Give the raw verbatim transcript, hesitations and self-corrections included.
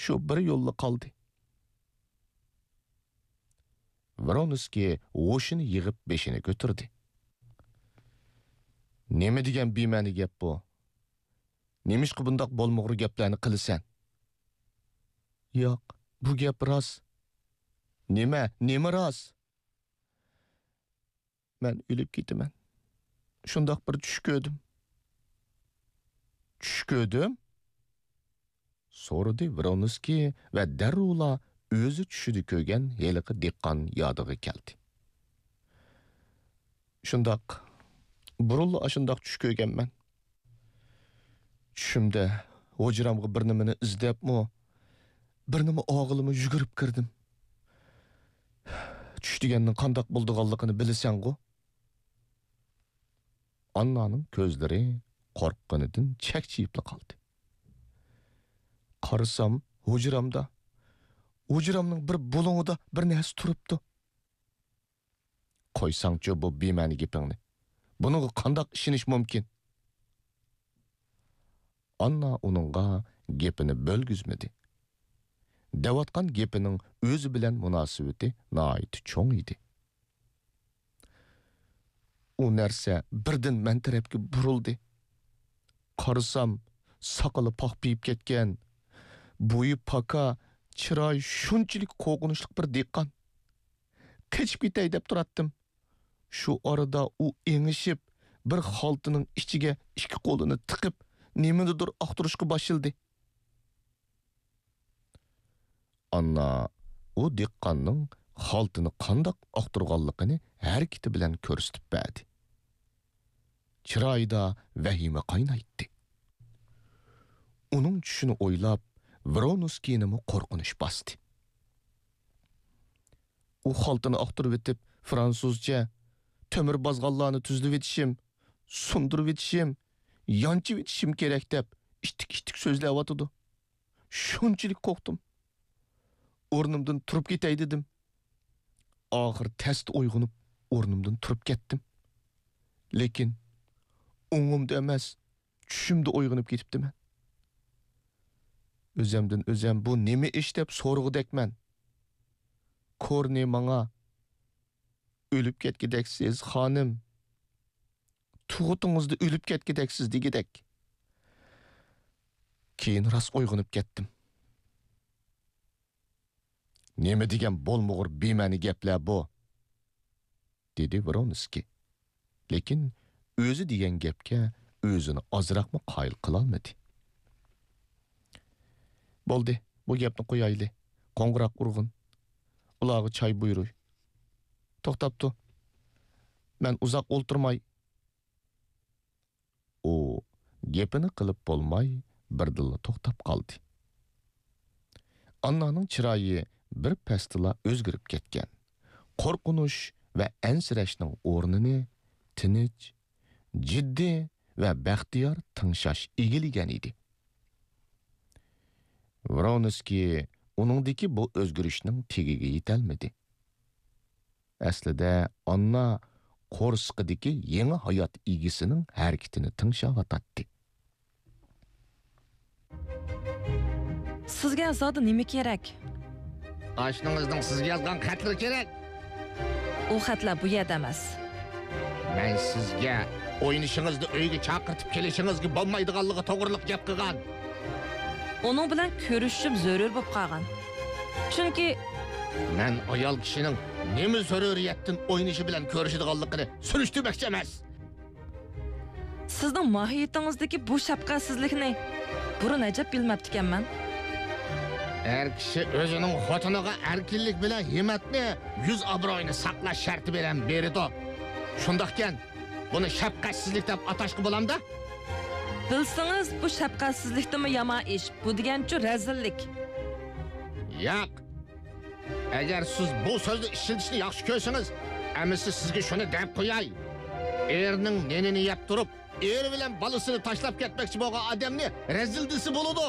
شۇ بىر يوللا قالدى. ۋرونسكىي ھوشىنى يىغىپ بېشىنى كۆتۈردى. نېمە دېگەن بىمەنە گەپ بۇ؟ نېمىشقا بۇنداق بولمىغۇر گەپلەرنى قىلىسەن؟ ياق، بۇ گەپ راست. نېمە، نېمە راست؟ مەن ئۆلۈپ كېتىمەن. شۇنداق بىر چۈش كۆردۈم. چۈش كۆردۈم؟ سورىدى ۋرونسكىي ۋە دەررۇلا ئۆزى چۈشىدە كۆرگەن ھېلىقى دېھقان يادىغا كەلدى. شۇنداق، بۇرۇنلا ئاشۇنداق چۈش كۆرگەنمەن. چۈشۈمدە ھۇجرامغا بىر نېمىنى ئىزدەپمۇ، بىر نېمە ئالغىلىمۇ يۈگۈرۈپ كىردىم. چۈش دېگەننىڭ قانداق بولىدىغانلىقىنى بىلىسەنغۇ؟ ئاننانىڭ كۆزلىرى قورققىنىدىن چەكچىيىپلا قالدى. قارىسام، ھۇجرامدا، ھۇجرامنىڭ بىر بۇلۇڭىدا بىر نەرسە تۇرۇپتۇ. قويساڭچۇ بۇ بىمەنە گېپىڭنى. بۇنىڭغا قانداق ئىشىنىش مۇمكىن؟ ئاننا ئۇنىڭغا گېپىنى بۆلگۈزمىدى. دەۋاتقان گېپىنىڭ ئۆزى بىلەن مۇناسىۋىتى ناھايىتى چوڭ ئىدى. ئۇ نەرسە بىردىن مەن تەرەپكە بۇرۇلدى. قارىسام، ساقىلى پاخپىيىپ كەتكەن، بويى پاكا، چىرايى شۇنچىلىك قورقۇنچلۇق بىر دېھقان. قېچىپ كېتەي دەپ تۇراتتىم. شۇ ئارىدا ئۇ ئېڭىشىپ، بىر خالتىنىڭ ئىچىگە ئىككى قولىنى تىقىپ، نېمىنىدۇر ئاختۇرۇشقا باشلىدى. ئاننا ئۇ دېھقاننىڭ خالتىنى قانداق ئاختۇرغانلىقىنى ھەرىكىتى بىلەن كۆرسىتىپ بەردى. چىرايىدا ۋەھىمە قاينايتتى. ئۇنىڭ چۈشىنى ئويلاپ، ۋرونسكىينىمۇ قورقۇنچ باستى. ئۇ خالتىنى ئاختۇرۇۋېتىپ، فرانسۇزچە، تۆمۈر بازغانلارنى تۈزلىۋېتىشىم، سۇندۇرۇۋېتىشىم، يانچىۋېتىشىم كېرەك دەپ، ئىتتىك-ئىتتىك سۆزلەۋاتىدۇ. شۇنچىلىك قورقتۇم. ئورنۇمدىن تۇرۇپ كېتەي دېدىم. ئاخىر تەستە ئويغىنىپ، ئورنۇمدىن تۇرۇپ كەتتىم. لېكىن ئوڭۇمدا ئەمەس، چۈشۈمدە ئويغىنىپ كېتىپتىمەن. ئۆزەمدىن ئۆزەم بۇ نېمە ئىش دەپ سورىغۇدەكمەن. كورنى ماڭا، «ئۆلۈپ كەتكۈدەكسىز، خانىم. تۇغۇتىڭىزدا ئۆلۈپ كەتكۈدەكسىز» دېگۈدەك. كېيىن راست ئويغىنىپ كەتتىم. «نېمە دېگەن بولمىغۇر بىمەنە گەپلەر بۇ؟» دېدى ۋرونسكىي. لېكىن ئۆزى دېگەن گەپكە ئۆزىنى ئازراقمۇ قايىل قىلالمىدى. «بولدى، بۇ گەپنى قويايلى. قوڭغۇراق ئۇرغىن. ئۇلارغا چاي بۇيرۇي. توختاپ تۇر. مەن ئۇزاق ئولتۇرماي.» ئۇ گېپىنى قىلىپ بولماي، بىردىنلا توختاپ قالدى. ئاننانىڭ چىرايى بىر پەستىلا ئۆزگىرىپ كەتكەن. قورقۇنچ ۋە ئەنسىرەشنىڭ ئورنىنى تىنچ، جىددىي ۋە بەختىيار تىڭشاش ئىگىلىگەن ئىدى. ۋرونسكىي ئۇنىڭدىكى بۇ ئۆزگىرىشنىڭ تېگىگە يېتەلمىدى. ئەسلىدە ئاننا قورسىقىدىكى يېڭى ھايات ئىگىسىنىڭ ھەرىكىتىنى تىڭشاۋاتاتتى. سىزگە زادى نېمە كېرەك؟ ئاشنىڭىزنىڭ سىزگە يازغان خەتلىرى كېرەك. ئۇ خەتلەر بۇ يەردە ئەمەس. مەن سىزگە ئوينىشىڭىزنى ئۆيگە چاقىرتىپ كېلىشىڭىزگە بولمايدىغانلىقى توغرىلىق گەپ قىلغان. ئۇنىڭ بىلەن كۆرۈشۈشۈم زۆرۈر بولۇپ قالغان. چۈنكى مەن ئايال كىشىنىڭ نېمە زۆرۈرىيەتتىن ئوينىشى بىلەن كۆرۈشىدىغانلىقىنى سۈرۈشتۈرمەكچى ئەمەس. سىزنىڭ ماھىيىتىڭىزدىكى بۇ شەپقەتسىزلىكنى بۇرۇن ئەجەب بىلمەپتىكەنمەن. ئەر كىشى ئۆزىنىڭ خوتۇنىغا ئەركىنلىك بىلەن ھىممەتنى، يۈز ئابرۇيىنى ساقلاش شەرتى بىلەن بېرىدۇ. شۇنداقكەن، بۇنى شەپقەتسىزلىك دەپ ئاتاشقا بولامدا؟ بىلسىڭىز، بۇ شەپقەتسىزلىكتىنمۇ يامان ئىش. بۇ دېگەنچۇ رەزىللىك. ياق. ئەگەر سىز بۇ سۆزنى ئىشلىتىشنى ياخشى كۆرسىڭىز، ئەمىسە سىزگە شۇنى دەپ قوياي. ئېرىنىڭ نېنىنى يەپ تۇرۇپ، ئېرى بىلەن بالىسىنى تاشلاپ كەتمەكچى بولغان ئادەمنى رەزىل دېسە بولىدۇ.